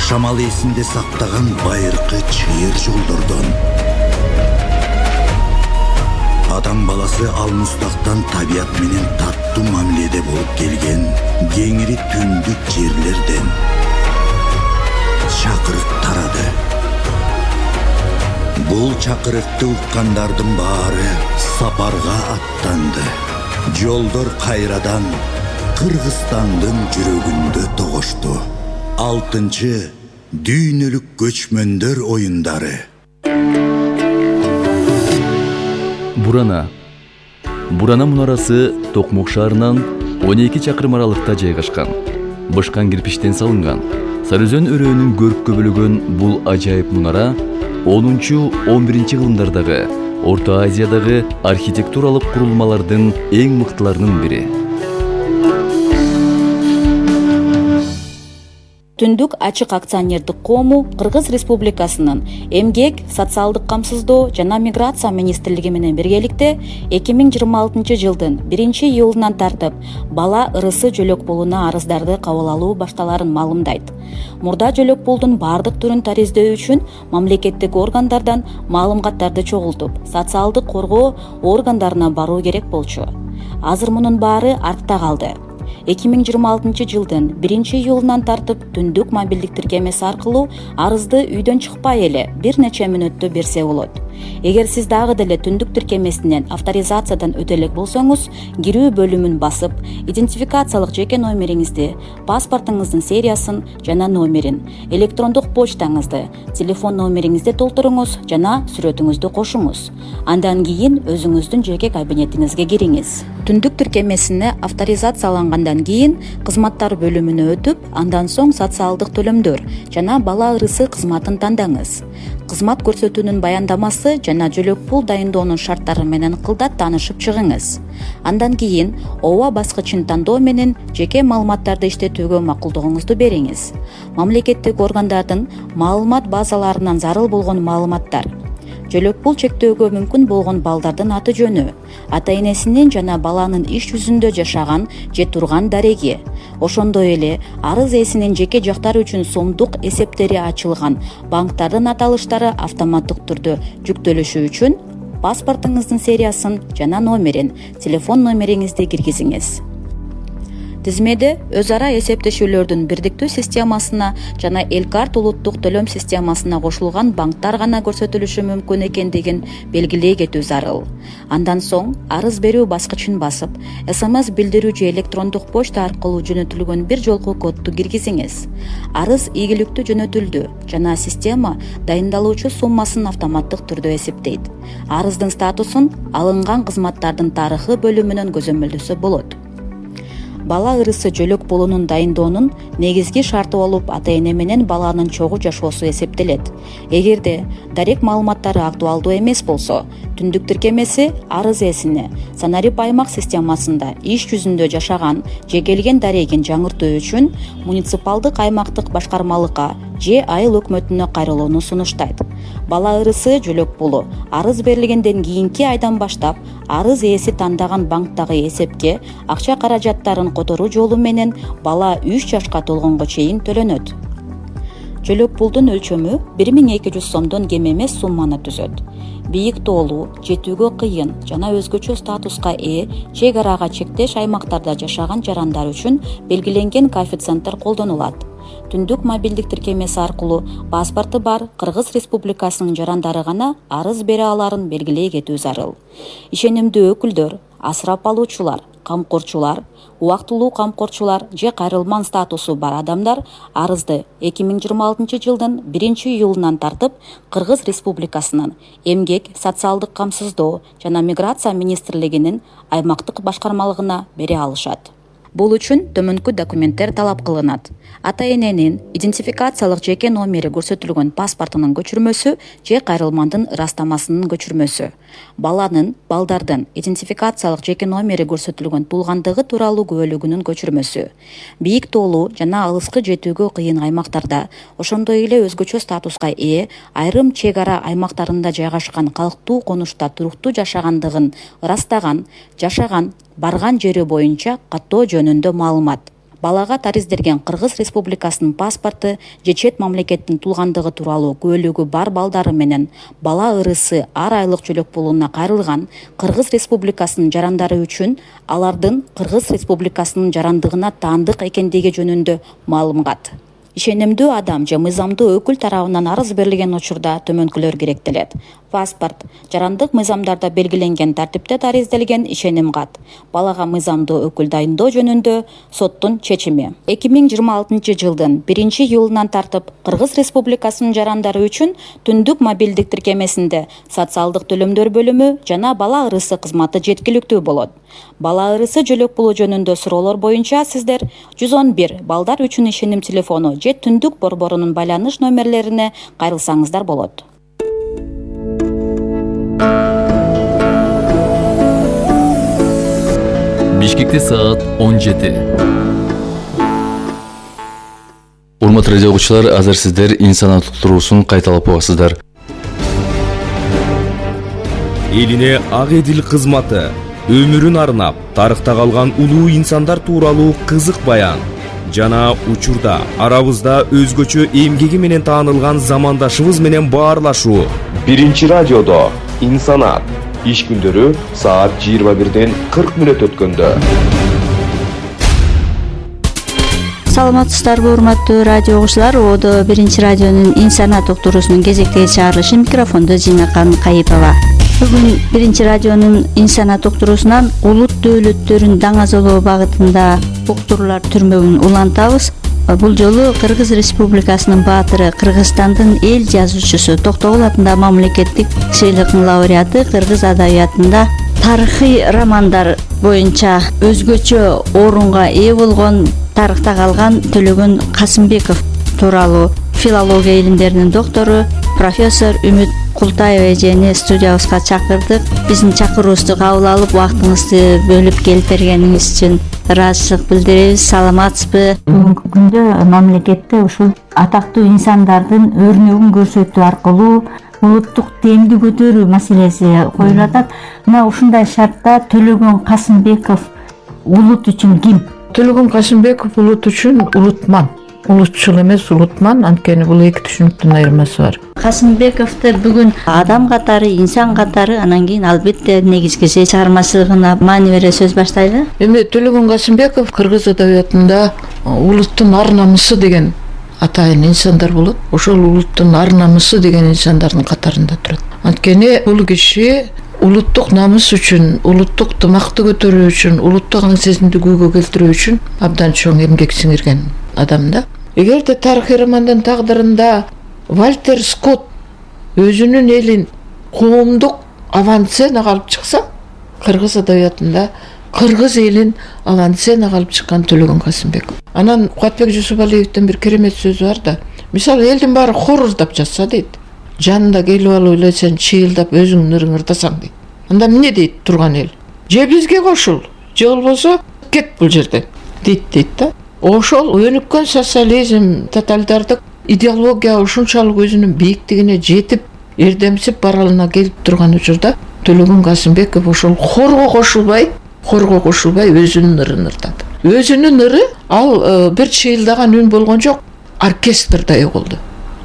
Жашамал эсинде сактаган байыркы чыйыр жолдордон. Адам баласы алмустактан табият менен таттуу мамиледе болуп келген кеңири түндүк жерлерден чакырык тарады. Бул чакырыкты уккандардын баары сапарга аттанды. Жолдор кайрадан Кыргызстандын жүрөгүндө тогошту. 6 дүйнөлүк көчмөндөр оюндары. Бурана мунарасы Токмок шаарынан 12 чакырым аралыкта жайгашкан. Бышкан кирпичтен салынган. Сарыөзөн өрөөнүн көрккө бөлөгөн бул ажайып мунара 10-11 кылымдардагы Орто Азиядагы архитектуралык курулмалардын эң мыктыларынын бири. Түндүк ачык акционердик коому Кыргыз Республикасынын Эмгек, социалдык камсыздоо жана миграция министрлиги менен биргеликте 2026 жылдын 1-июлунан тартып бала ырысы жөлөк пулуна арыздарды кабыл алуу башталарын маалымдайт. Мурда жөлөк пулдун бардык түрүн тариздөө үчүн мамлекеттик органдардан маалыматтарды чогултуп, социалдык коргоо органдарына баруу керек болчу. Азыр мунун баары артта калды. 2026 жылдын 1-июлунан тартып түндүк мобилдик тиркемеси аркылуу арызды үйдөн чыкпай эле бир нече мүнөттө берсе болот. Эгер сиз дагы деле түндүк тиркемесинен авторизациядан өтө элек болсоңуз, кирүү бөлүмүн басып, идентификациялык жеке номериңизди, паспортуңуздун сериясын жана номерин, электрондук почтаңызды, телефон номериңизди толтуруңуз жана сүрөтүңүздү кошуңуз. Андан кийин өзүңүздүн жеке кабинетиңизге кириңиз. Түндүк тиркемесине авторизациялангандан кийин кызматтар бөлүмүнө өтүп, андан соң социалдык төлөмдөр жана бала ырысы кызматын тандаңыз. Кызмат көрсөтүүнүн баяндамасы жана жөлөк пул дайындоонун шарттары менен кылдат таанышып чыгыңыз. Андан кийин ооба баскычын тандоо менен жеке маалыматтарды иштетүүгө макулдугуңузду бериңиз. Мамлекеттик органдардын маалымат базаларынан зарыл болгон маалыматтар, жөлөк пул чектөөгө мүмкүн болгон балдардын аты жөнү, ата энесинин жана баланын иш жүзүндө жашаган же турган дареги, ошондой эле арыз ээсинин жеке жактары үчүн сомдук эсептери ачылган банктардын аталыштары автоматтык түрдө жүктөлүшү үчүн паспортуңуздун сериясын жана номерин, телефон номериңизди киргизиңиз. Тизмеде өз ара эсептешүүлөрдүн бирдиктүү системасына жана Элкарт улуттук төлөм системасына кошулган банктар гана көрсөтүлүшү мүмкүн экендигин белгилей кетүү зарыл. Андан соң арыз берүү баскычын басып, СМС билдирүү же электрондук почта аркылуу жөнөтүлгөн бир жолку кодду киргизиңиз. Арыз ийгиликтүү жөнөтүлдү жана система дайындалуучу суммасын автоматтык түрдө эсептейт. Арыздын статусун алынган кызматтардын тарыхы бөлүмүнөн көзөмөлдөсө болот. Бала ырысы жөлөк пулунун дайындоонун негизги шарты болуп ата эне менен баланын чогуу жашоосу эсептелет. Эгерде дарек маалыматтары актуалдуу эмес болсо, түндүк тиркемеси арыз ээсине Санарип аймак системасында иш жүзүндө жашаган же келген дарегин жаңыртуу үчүн муниципалдык аймактык башкармалыкка же айыл өкмөтүнө кайрылууну сунуштайт. Бала ырысы жөлөк пулу арыз берилгенден кийинки айдан баштап арыз ээси тандаган банктагы эсепке акча каражаттарын которуу жолу менен бала 3 жашка толгонго чейин төлөнөт. Жөлөк пулдун өлчөмү 1200 сомдон кем эмес сумманы түзөт. Бийик тоолуу, жетүүгө кыйын жана өзгөчө статуска ээ чек арага чектеш аймактарда жашаган жарандар үчүн белгиленген коэффициенттер колдонулат. Түндүк мобилдик тиркемеси аркылуу паспорту бар Кыргыз Республикасынын жарандары гана арыз бере аларын белгилей кетүү зарыл. Ишенимдүү өкүлдөр, асырап алуучулар, камкорчулар, убактылуу камкорчулар же кайрылман статусу бар адамдар арызды 2026 жылдын 1-июлунан тартып Кыргыз Республикасынын Эмгек, социалдык камсыздоо жана миграция министрлигинин аймактык башкармалыгына бере алышат. Бул үчүн төмөнкү документтер талап кылынат. Ата эненин идентификациялык жеке номери көрсөтүлгөн паспортунун көчүрмөсү же кайрылмандын ырастамасынын көчүрмөсү. Балдардын идентификациялык жеке номери көрсөтүлгөн туулгандыгы тууралуу күбөлүгүнүн көчүрмөсү. Бийик тоолуу жана алыскы жетүүгө кыйын аймактарда, ошондой эле өзгөчө статуска ээ айрым чек ара аймактарында жайгашкан калктуу конушта туруктуу жашагандыгын ырастаган, жашаган, барган жери боюнча каттоо жөнүндө маалымат. балага тариздерген Кыргыз Республикасынын паспорту же чет мамлекеттин туулгандыгы тууралуу күбөлүгү бар балдары менен бала ырысы ар айлык жөлөк пулуна кайрылган Кыргыз Республикасынын жарандары үчүн алардын Кыргыз Республикасынын жарандыгына таандык экендиги жөнүндө маалымат. Ишенимдүү адам же мыйзамдуу өкүл тарабынан арыз берилген учурда төмөнкүлөр керектелет. Паспорт, жарандык мыйзамдарда белгиленген тартипте таризделген ишеним кат, балага мыйзамдуу өкүл дайындоо жөнүндө соттун чечими. 2026 жылдын 1-июлунан тартып Кыргыз Республикасынын жарандары үчүн түндүк мобилдик тиркемесинде социалдык төлөмдөр бөлүмү жана бала ырысы кызматы жеткиликтүү болот. Бала ырысы жөлөк пулу жөнүндө суроолор боюнча сиздер 111 балдар үчүн ишеним телефону же түндүк борборунун байланыш номерлерине кайрылсаңыздар болот. Бишкекте саат 17. Урматтуу радио окуучулар, азыр сиздер инсаният туруусун кайталап угасыздар. Элине ак эдил кызматы, өмүрүн арнап, тарыхта калган улуу инсандар тууралуу кызык баян жана учурда арабызда өзгөчө эмгеги менен таанылган замандашыбыз менен баарлашуу. Биринчи радиодо инсаният иш күндөрү саат 21:40 өткөндө. Саламатсыздарбы урматтуу радио окуучулар, Одо биринчи радионун инсаният уктуруусунун кезектеги чыгарылышы, микрофондо Жинакан Кайыпова. Бүгүн биринчи радионун инсаният уктуруусунан улут дөөлөттөрүн даңазолоо багытында уктуруулар түрмөгүн улантабыз. Бул жолу Кыргыз Республикасынын баатыры, Кыргызстандын эл жазуучусу, Токтогул атындагы мамлекеттик сыйлыктын лауреаты, кыргыз адабиятында тарыхый романдар боюнча өзгөчө орунга ээ болгон, тарыхта калган Төлөгөн Касымбеков тууралуу филология илимдеринин доктору профессор Үмүт Култаева эжени студиябызга чакырдык. Биздин чакыруубузду кабыл алып, убактыңызды бөлүп келип бергениңиз үчүн ыраазычылык билдиребиз. Саламатсызбы? Бүгүнкү күндө мамлекетте ушул атактуу инсандардын өрнөгүн көрсөтүү аркылуу улуттук демди көтөрүү маселеси коюлуп атат. Мына ушундай шартта Төлөгөн Касымбеков улут үчүн ким? Төлөгөн Касымбеков улут үчүн улутман. Улутчул эмес, улутман. Анткени бул эки түшүнүктүн айырмасы бар. Касымбековду бүгүн адам катары, инсан катары, анан кийин албетте негизгиси чыгармачылыгына маани бере сөз баштайлы. Эми Төлөгөн Касымбеков кыргыз адабиятында улуттун ар намысы деген атайын инсандар болот. Ошол улуттун ар намысы деген инсандардын катарында турат. Анткени бул киши улуттук намыс үчүн, улуттук тымакты көтөрүү үчүн, улуттук аң сезимди күүгө келтирүү үчүн абдан чоң эмгек сиңирген адам да. Эгерде тарыхый романдын тагдырында Вальтер Скотт өзүнүн элин коомдук авансценага алып чыкса, кыргыз адабиятында кыргыз элин авансценага алып чыккан Төлөгөн Касымбеков. Анан Кубатбек Жусупалиевдин бир керемет сөзү бар да. Мисалы, элдин баары хоруздап жатса дейт, жанында келип алып эле сен чыйылдап өзүңдүн ырыңырдасаң дейт. Анда эмне дейт турган эл? Же бизге кошул, же болбосо кет бул жерден дейт да. Ошол өнүккөн социализм, тоталитардык идеология ушунчалык өзүнүн бийиктигине жетип, эрдемсип баралына келип турган учурда Төлөгөн Касымбеков ошол хорго кошулбай өзүнүн ырын ырдады. Өзүнүн ыры ал бир чыйылдаган үн болгон жок, оркестрдай угулду.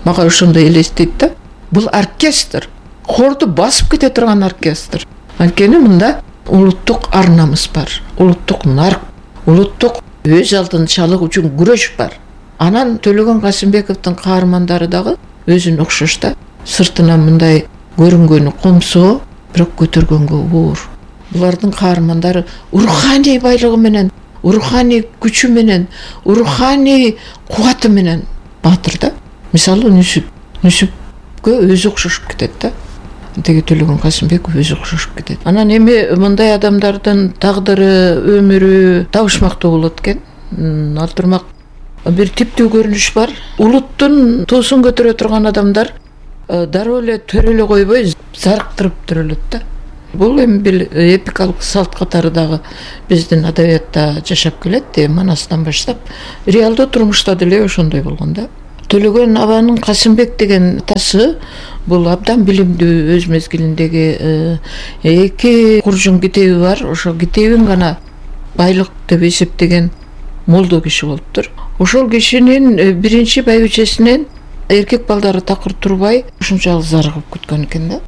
Мага ошондой элестейт да. Бул оркестр, хорду басып кете турган оркестр. Анткени мында улуттук ар намыс бар, улуттук нарк, улуттук өз алдынчалык үчүн күрөш бар. Анан Төлөгөн Касымбековдун каармандары дагы өзүнө окшош да. Сыртынан мындай көрүнгөнү комсоо, бирок көтөргөнгө оор. Булардын каармандары руханий байлыгы менен, руханий күчү менен, руханий кубаты менен баатыр да. Мисалы, Нүсүпкө өзү окшошуп кетет да. Теги Төлөгөн Касымбеков өзү окшошуп кетет. Анан эми мындай адамдардын тагдыры, өмүрү табышмактуу болот экен. Ал турмак бир типтүү көрүнүш бар. Улуттун туусун көтөрө турган адамдар дароо эле төрөлө койбой, зарыктырып төрөлөт да. Бул эми бир эпикалык салт катары дагы биздин адабиятта жашап келет, манастан баштап. Реалдуу турмушта деле ошондой болгон да. Төлөгөн абанын Касымбек деген атасы бул абдан билимдүү, өз мезгилиндеги эки куржун китеби бар. Ошол китебин гана байлык деп эсептеген молдо киши болуптур. Ошол кишинин биринчи байбичесинен эркек балдары такыр турбай ушунчалык зарыгып күткөн экен да.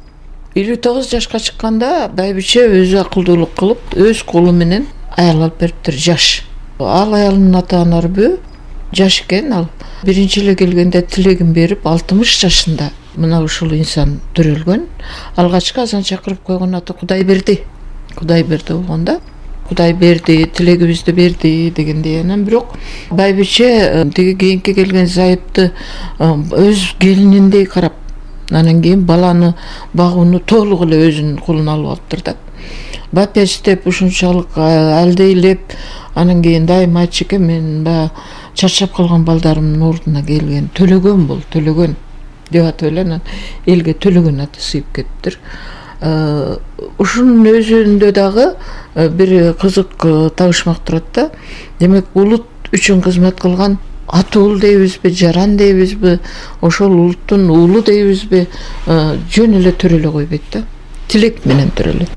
59 жашка чыкканда байбиче өзү акылдуулук кылып өз колу менен аял алып бериптир, жаш. Ал аялдын ата-аналары жаш экен. Ал биринчи эле келгенде тилегин берип 60 жашында мына ушул инсан төрөлгөн. Алгачкы азан чакырып койгон аты Кудайберди. Кудайберди болгон да. Кудай берди, тилегибизди берди дегендей. Анан бирок байбиче тиги кийинки келген зайыпты өз келининдей карап, анан кийин баланы багууну толук эле өзүнүн колуна алып алыптыр да. Бапес деп ушунчалык алдейлеп, анан кийин дайыма айтчу экен, мен баягы чарчап калган балдарымдын ордуна келген, төлөгөн бол, төлөгөн деп атып эле анан элге төлөгөн аты сыйып кетиптир. Ушунун өзүндө дагы бир кызык табышмак турат да. Демек улут үчүн кызмат кылган ата уул дейбизби, жаран дейбизби, ошол улуттун уулу дейбизби, жөн эле төрөлө койбойт да. Тилек менен төрөлөт.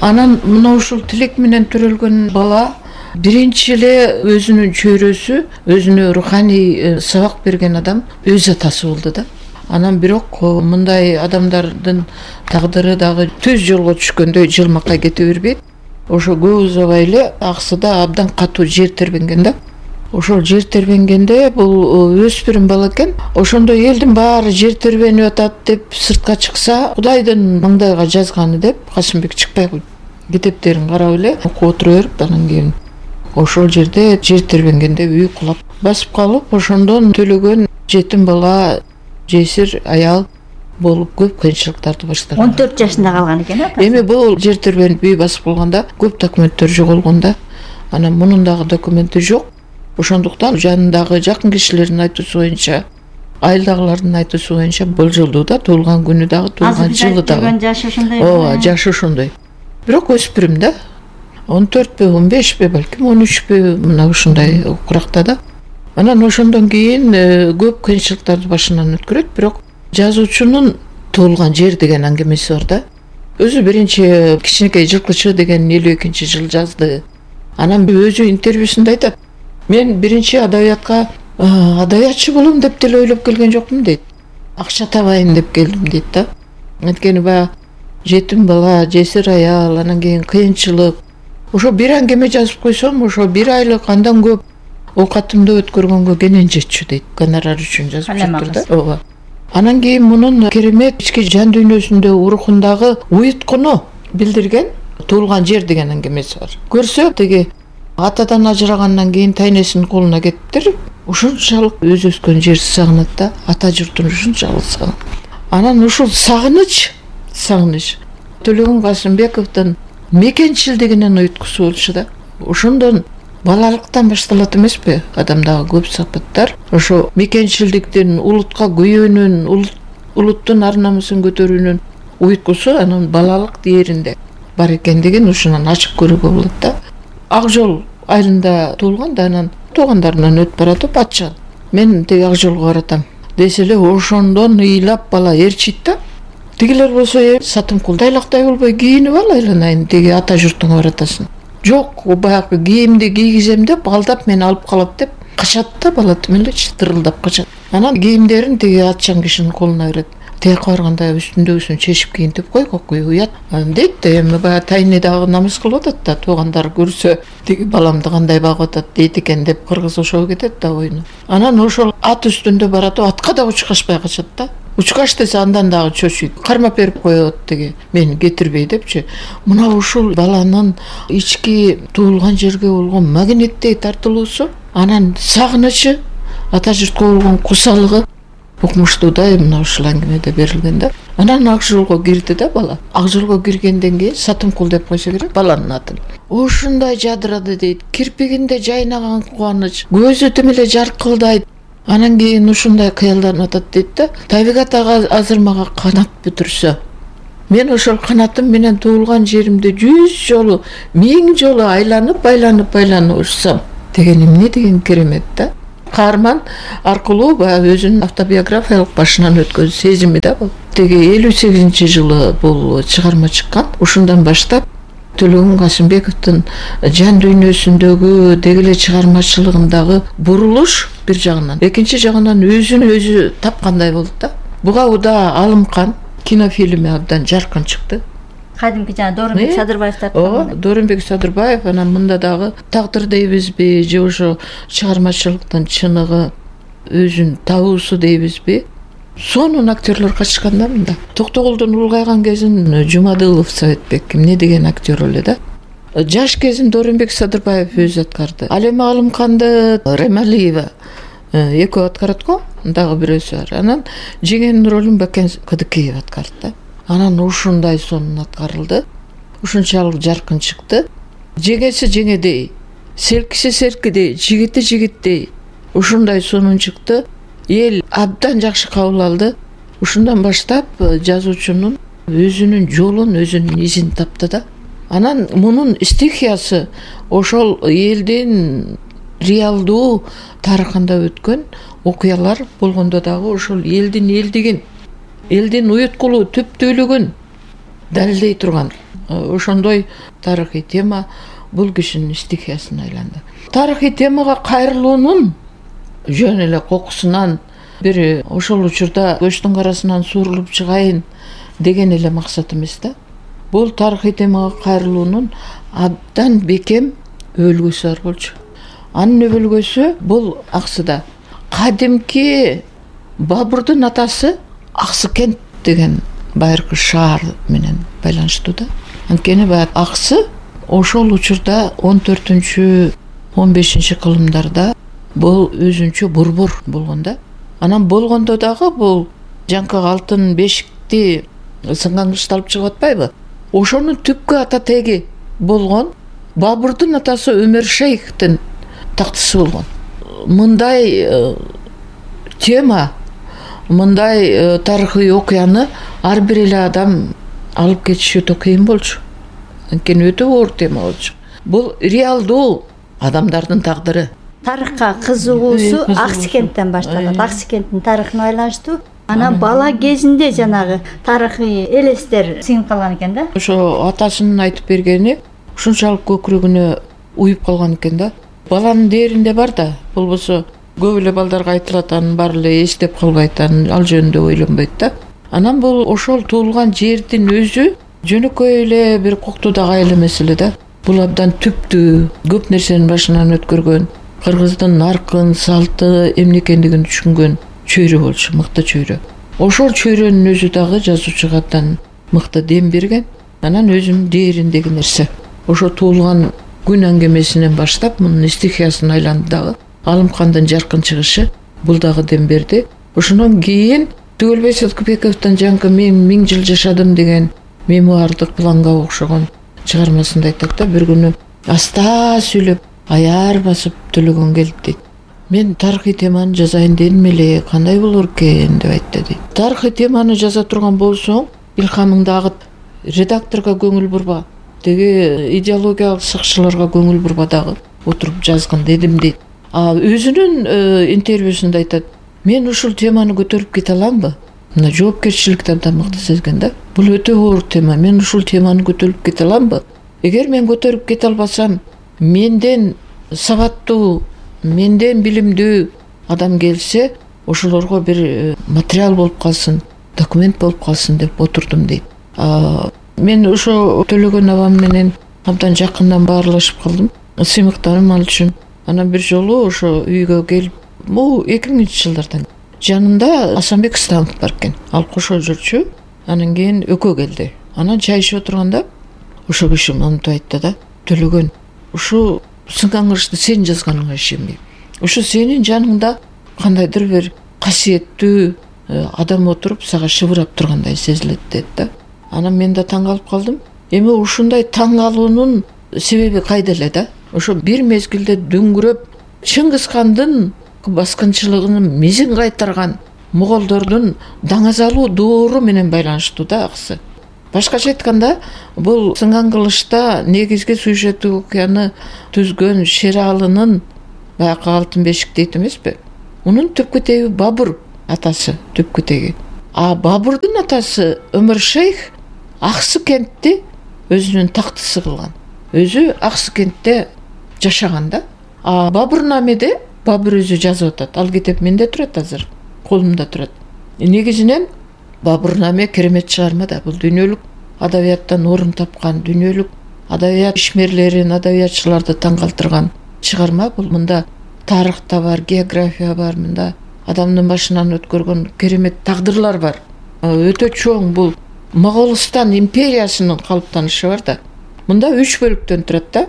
Анан мына ушул тилек менен төрөлгөн бала биринчи эле өзүнүн чөйрөсү, өзүнө руханий сабак берген адам өз атасы болду да. Анан бирок мындай адамдардын тагдыры дагы түз жолго түшкөндөй жылмакка кете бербейт. Ошо көп узабай эле аксыда абдан катуу жер тербенген да. Ошол жер тербенгенде бул өспүрүм бала экен. Ошондо элдин баары жер тербенип атат деп сыртка чыкса, Кудайдын маңдайга жазганы деп Касымбек чыкпай койду. Китептерин карап эле окуп отура берип, анан кийин ошол жерде жер тербенгенде үй кулап басып калып, ошондон төлөгөн жетим бала, жесир аял болуп көп кыйынчылыктарды баштаган. 14 жашында калган экен а? Эми бул жер тербенип үй басып калганда көп документтер жоголгон да. Анан мунун дагы документи жок. Ошондуктан жанындагы жакын кишилердин айтуусу боюнча, айылдагылардын айтуусу боюнча болжолдуу да, туулган күнү дагы, туулган жылы дагы. Жашы ошондой. Ооба, жашы ошондой. Бирок өспүрүм да. 14пи, 15пи, балким 13пи, мына ушундай куракта да. Анан ошондон кийин көп кыйынчылыктарды башынан өткөрөт, бирок жазуучунун туулган жер деген аңгемеси бар да. Өзү биринчи Кичинекей жылкычы деген 52-жылы жазды. Анан өзү интервьюсунда айтат: мен биринчи адабиятка адабиятчы болом деп деле ойлоп келген жокмун дейт. Акча табайын деп келдим дейт да. Анткени баягы жетим бала, жесир аял, анан кийин кыйынчылык. Ошо бир аңгеме жазып койсом, ошо 1 айлык андан көп оокатымды өткөргөнгө кенен жетчү дейт. Гонорар үчүн жазып жатыр да. Ооба. Анан кийин мунун керемет ички жан дүйнөсүндө урухундагы уюткуну билдирген туулган жер деген аңгемеси бар. Көрсө, тиги атадан ажырагандан кийин тайнесинин колуна кетиптир. Ушунчалык өз өскөн жерди сагынат да, ата журтун ушунчалык сагынат. Анан ушул сагыныч Төлөгөн Касымбековдун мекенчилдигинин уюткусу болчу да. Ошондон балалыктан башталат эмеспи адамдагы көп сапаттар? Ошо мекенчилдиктин, улутка күйөөнүн, улуттун ар намысын көтөрүүнүн уюткусу анын балалык дээринде бар экендигин ушунан ачык көрүүгө болот да. Ак жол айылында туулган да, анан туугандарынан өтүп баратып атчан: мен тиги ак жолго баратам десе эле ошондон ыйлап бала ээрчийт да. Тигилер болсо сатымкулдайлактай болбой кийинип ал, айланайын, тиги ата журтуңа баратасың. Жок, баягы кийимди кийгизем деп алдап мени алып калат деп качат да, бала тим эле тырылдап качат. Анан кийимдерин тиги атчан кишинин колуна берет. Тияка барганда үстүндөгүсүн чечип кийинтип койгой уят дейт да. Эми баягы тайны дагы намыс кылып атат да, туугандар көрсө тиги баламды кандай багып атат дейт экен деп кыргыз ошого кетет да ойуну. Анан ошол ат үстүндө баратып атка да учкашпай качат да. Учкаш десе андан дагы чочуйт, кармап берип коет тиги мени кетирбей депчи. Мына ушул баланын ички туулган жерге болгон магниттей тартылуусу, анан сагынычы, ата журтка болгон кусалыгы укмуштуудай мына ушул аңгемеде берилген да. Анан ак жолго кирди да бала. Ак жолго киргенден кийин Сатымкул деп койсо керек баланын атын. Ушундай жадырады дейт, кирпигинде жайнаган кубаныч, көзү тим эле жаркылдайт. Анан кийин ушундай кыялданып атат дейт да. Табигат ага азыр мага канат бүтүрсө, мен ошол канатым менен туулган жеримди 100 жолу, 1000 жолу айланып урсам деген эмне деген керемет да. Каарман аркылуу баягы өзүнүн автобиографиялык башынан өткөн сезими да бул. Теги 58-жылы бул чыгарма чыккан. Ушундан баштап Төлөгөн Касымбековдун жан дүйнөсүндөгү деги эле чыгармачылыгындагы бурулуш бир жагынан, экинчи жагынан өзүн өзү тапкандай болду да. Буга уда Алымкан кинофильми абдан жаркын чыкты. Кадимки жана Дооронбек Садырбаевдер. Дооронбек Садырбаев, анан мында дагы тагдыр дейбизби же ошо чыгармачылыктын чыныгы өзүн табуусу дейбизби, сонун актерлор катышкан да мында. Токтогулдун улгайган кезин Жумадылов Советбек эмне деген актер эле да. Жаш кезин Дооронбек Садырбаев өзү аткарды. Ал эми Алымканды Ремалиева экөө аткарат го, дагы бирөөсү бар. Анан жеңенин ролун Бакен Кыдыкеев аткарды да. Анан ушундай сонун аткарылды. Ушунчалык жаркын чыкты. Жеңеси жеңедей, серкиси серкидей, жигити жигиттей. Ушундай сонун чыкты. Эл абдан жакшы кабыл алды. Ушундан баштап жазуучунун өзүнүн жолун, өзүнүн изин тапты да. Анан мунун стихиясы ошол элдин реалдуу тарыхында өткөн окуялар болгондо дагы ошол элдин элдигин, элдин уюткулу түптүүлүгүн далилдей турган ошондой тарыхый тема бул кишинин стихиясына айланды. Тарыхый темага кайрылуунун жөн эле кокусунан бир ошол учурда көчтүн карасынан суурулуп чыгайын деген эле максат эмес да. Бул тарыхый темага кайрылуунун абдан бекем өлгөсү бар болчу. Анын өлгөсү бул Аксыда. Кадимки Бабурдун атасы Аксыкент деген байыркы шаар менен байланыштуу да. Анткени баягы Аксы ошол учурда 14-15 кылымдарда бул өзүнчө бурбур болгон да. Анан болгондо дагы бул жанкы алтын бешикти сынган кышты алып чыгып атпайбы? Ошонун түпкү ата теги болгон Бабурдун атасы Өмөр Шейхтин тактысы болгон. Мындай тема, мындай тарыхый окуяны ар бир эле адам алып кетиши өтө кыйын болчу. Анткени өтө оор тема болчу. Бул реалдуу адамдардын тагдыры. Тарыхка кызыгуусу Аксыкенттен башталат. Аксыкенттин тарыхына байланыштуу. Анан бала кезинде жанагы тарыхый элестер сиңип калган экен да. Ошо атасынын айтып бергени ушунчалык көкүрөгүнө уюп калган экен да. Баланын дээринде бар да, болбосо көп эле балдарга айтылат, анын баары эле эстеп калбайт, ал жөнүндө ойлонбойт да. Анан бул ошол туулган жердин өзү жөнөкөй эле бир коктуудагы айыл эмес эле да. Бул абдан түптүү, көп нерсенин башынан өткөргөн, кыргыздын наркын, салты эмне экендигин түшүнгөн чөйрө болчу, мыкты чөйрө. Ошол чөйрөнүн өзү дагы жазуучуга абдан мыкты дем берген. Анан өзүнүн дээриндеги нерсе. Ошо туулган күн аңгемесинен баштап мунун стихиясына айланды дагы. Алымкандын жаркын чыгышы бул дагы дем берди. Ошондон кийин Түгөлбай Садыкбековдун жанкы мен 1000 жыл жашадым деген мемуардык планга окшогон чыгармасында айтат да, бир күнү аста сүйлөп аяр басып Төлөгөн келди дейт. Мен тарыхый теманы жазайын дедим эле, кандай болор экен деп айтты дейт. Тарыхый теманы жаза турган болсоң, илхамыңды агыт, редакторго көңүл бурба, деги идеологиялык сакчыларга көңүл бурба дагы отуруп жазгын дедим дейт. Өзүнүн интервьюсунда айтат, мен ушул теманы көтөрүп кете аламбы? Мына жоопкерчиликти абдан мыкты сезген да. Бул өтө оор тема, мен ушул теманы көтөрүп кете аламбы? Эгер мен көтөрүп кете албасам, менден сабаттуу, менден билимдүү адам келсе, ошолорго бир материал болуп калсын, документ болуп калсын деп отурдум дейт. Мен ошо Төлөгөн абам менен абдан жакындан баарлашып калдым. Сыймыктарым ал үчүн. Анан бир жолу ошо үйгө келип, бул 2000-жылдардан жанында Асанбек Станов бар экен. Ал кошо жүрчү. Анан кийин экөө келди. Анан чай ичип отурганда ошо киши мынтип айтты да, Төлөгөн, ушу сынган кырышты сен жазганыңа ишенбейм. Ушу сенин жаныңда кандайдыр бир касиеттүү адам отуруп сага шыбырап тургандай сезилет дейт да. Анан мен да таң калып калдым. Эми ушундай таң калуунун себеби кайда эле да? Ошо бир мезгилде дөңгүрөп Чыңгызхандын баскынчылыгынын мизин кайтарган моголдордун даңазалуу доору менен байланыштуу да Аксы. Башкача айтканда, бул сынган кылычта негизги сюжеттик окуяны түзгөн Шералынын баягы алтын бешик дейт эмеспи? Унун түпкү теги Бабур атасы, түпкү теги. Бабурдун атасы Өмөр Шейх Аксыкентти өзүнүн тактысы кылган. өзү Аксыкентте жашаган да. А Бабурнамеде Бабур өзү жазып атат. Ал китеп менде турат азыр, колумда турат. Негизинен Бабурнаме керемет чыгарма да. Бул дүйнөлүк адабияттан орун тапкан, дүйнөлүк адабият ишмерлерин, адабиятчыларды таң калтырган чыгарма. Бул мында тарых да бар, география бар, мында адамдын башынан өткөргөн керемет тагдырлар бар. Өтө чоң бул Моголстан империясынын калыптанышы бар да. Мында 3 бөлүктөн турат да.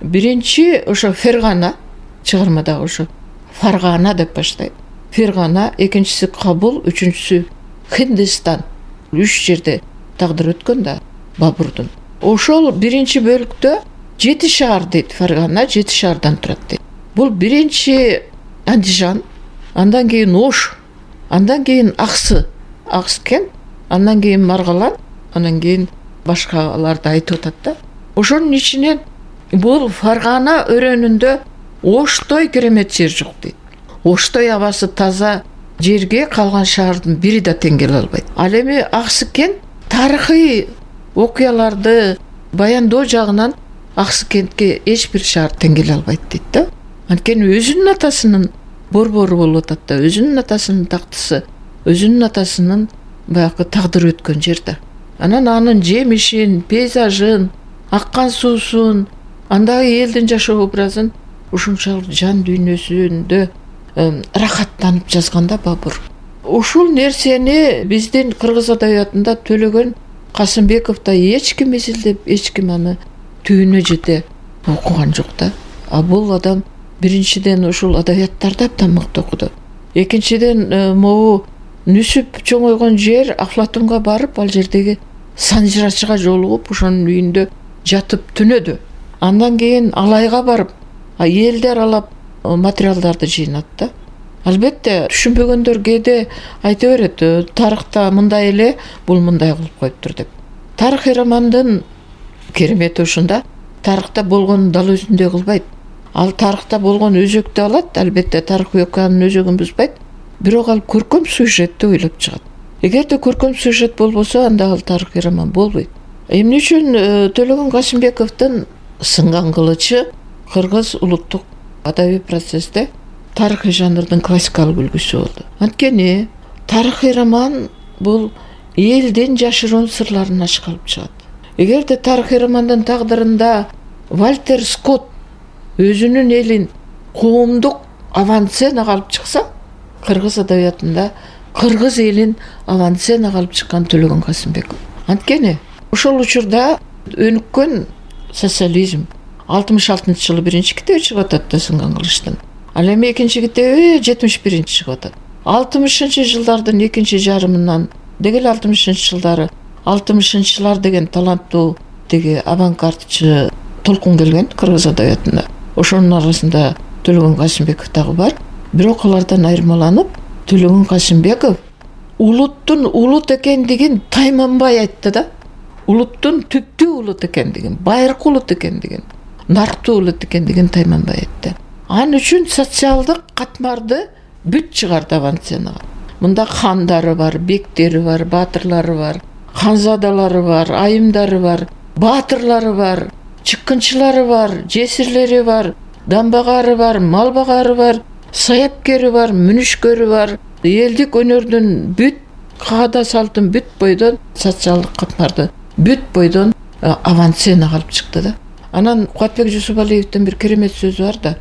Биринчи ошо Фергана чыгармада ошо Фаргана деп баштайт. Фергана, экинчиси Кабул, үчүнчүсү Хиндистан. 3 жерде тагдыр өткөн да Бабурдун. Ошол биринчи бөлүктө 7 шаар дейт. Фергана 7 шаардан турат дейт. Бул биринчи Андижан, андан кийин Ош, андан кийин Акскент, андан кийин Маргалан, андан кийин башкаларды айтып атат да. Ошонун ичинен бул Фаргана өрөөнүндө Оштой керемет жер жок дейт. Оштой абасы таза жерге калган шаардын бири да тең келе албайт. Ал эми Акскент тарыхый окуяларды баяндоо жагынан Акскентке эч бир шаар тең келе албайт дейт да. Анткени өзүнүн атасынын борбору болуп атат да, өзүнүн атасынын тактысы, өзүнүн атасынын баягы тагдыры өткөн жер да. Анан анын жемишин, пейзажын, аккан суусун, андагы элдин жашоо образын ушунчалык жан дүйнөсүндө рахаттанып жазган да Бабур. Ушул нерсени биздин кыргыз адабиятында Төлөгөн Касымбековдо эч ким изилдеп, эч ким аны түбүнө жете окуган жок да. А бул адам биринчиден ушул адабияттарды абдан мыкты окуду. Экинчиден могу нүсүп чоңойгон жер Афлатунга барып, ал жердеги санжырачыга жолугуп, ошонун үйүндө жатып түнөдү. Андан кийин Алайга барып, элдер аралап материалдарды жыйнат да. Албетте түшүнбөгөндөр кээде айта берет, тарыхта мындай эле, бул мындай кылып коюптур деп. Тарыхый романдын керемети ушунда, тарыхта болгонун дал өзүндөй кылбайт. Ал тарыхта болгон өзөктү алат, албетте тарыхый окуянын өзөгүн бузбайт, бирок ал көркөм сюжетти ойлоп чыгат. Эгерде көркөм сюжет болбосо, анда ал тарыхый роман болбойт. Эмне үчүн Төлөгөн Касымбековдун Сынган кылычы кыргыз улуттук адабий процессте тарыхый жанрдын классикалык үлгүсү болду. Анткени тарыхый роман бул элдин жашыруун сырларын ачык алып чыгат. Эгерде тарыхый романдын тагдырында Вальтер Скотт өзүнүн элин коомдук авансценага алып чыкса, кыргыз адабиятында кыргыз элин авансценага алып чыккан Төлөгөн Касымбеков. Анткени ошол учурда өнүккөн социализм 66-жылы биринчи китеби чыгып атат да Сынган кылычтын. Ал эми экинчи китеби 71-чи чыгып атат. 60-жылдардын экинчи жарымынан дегеле 60-жылдары 60-жылар деген таланттуу деги авангардчы толкун келген кыргыз адабиятында. Ошонун арасында Төлөгөн Касымбеков дагы бар. Бирок алардан айырмаланып, Төлөгөн Касымбеков улуттун улут экендигин тайманбай айтты да. Улуттун түптүү улут экендигин, байыркы улут экендигин, нарктуу улут экендигин тайманбай айтты. Ал үчүн социалдык катмарды бүт чыгарды авансценага. Мында хандары бар, бектери бар, баатырлары бар, ханзадалары бар, айымдары бар, баатырлары бар, чыккынчылары бар, жесирлери бар, дамбагары бар, малбагары бар, саяпкери бар, мүнүшкөрү бар. Элдик өнөрдүн бүт каада салтын бүт бойдон, социалдык катмарды бүт бойдон авансценага алып чыкты да. Анан Кубатбек Жусупалиевдин бир керемет сөзү бар да.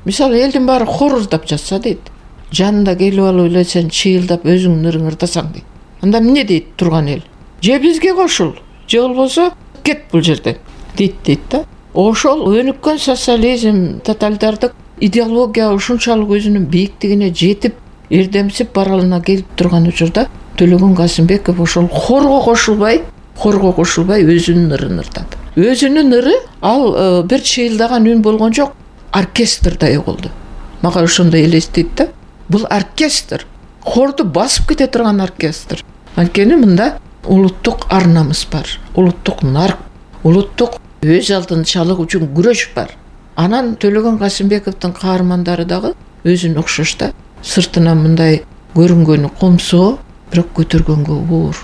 Мисалы, элдин баары хоруздап жатса дейт. Жанында келип алып эле сен чыйылдап өзүңдүн ырың ырдасаң дейт. Анда эмне дейт турган эл? Же бизге кошул, же болбосо кет бул жерден дейт да. Ошол өнүккөн социализм, тоталитардык идеология ушунчалык өзүнүн бийиктигине жетип, эрдемсип баралына келип турган учурда Төлөгөн Касымбеков ошол хорго кошулбай өзүнүн ырын ырдады. Өзүнүн ыры ал бир чыйылдаган үн болгон жок, оркестрдай угулду. Мага ошондой элестейт да. Бул оркестр, хорду басып кете турган оркестр. Анткени мында улуттук ар намыс бар, улуттук нарк, улуттук өз алдынчалык үчүн күрөш бар. Анан Төлөгөн Касымбековдун каармандары дагы өзүнө окшош да. Сыртынан мындай көрүнгөнү комсоо, бирок көтөргөнгө оор.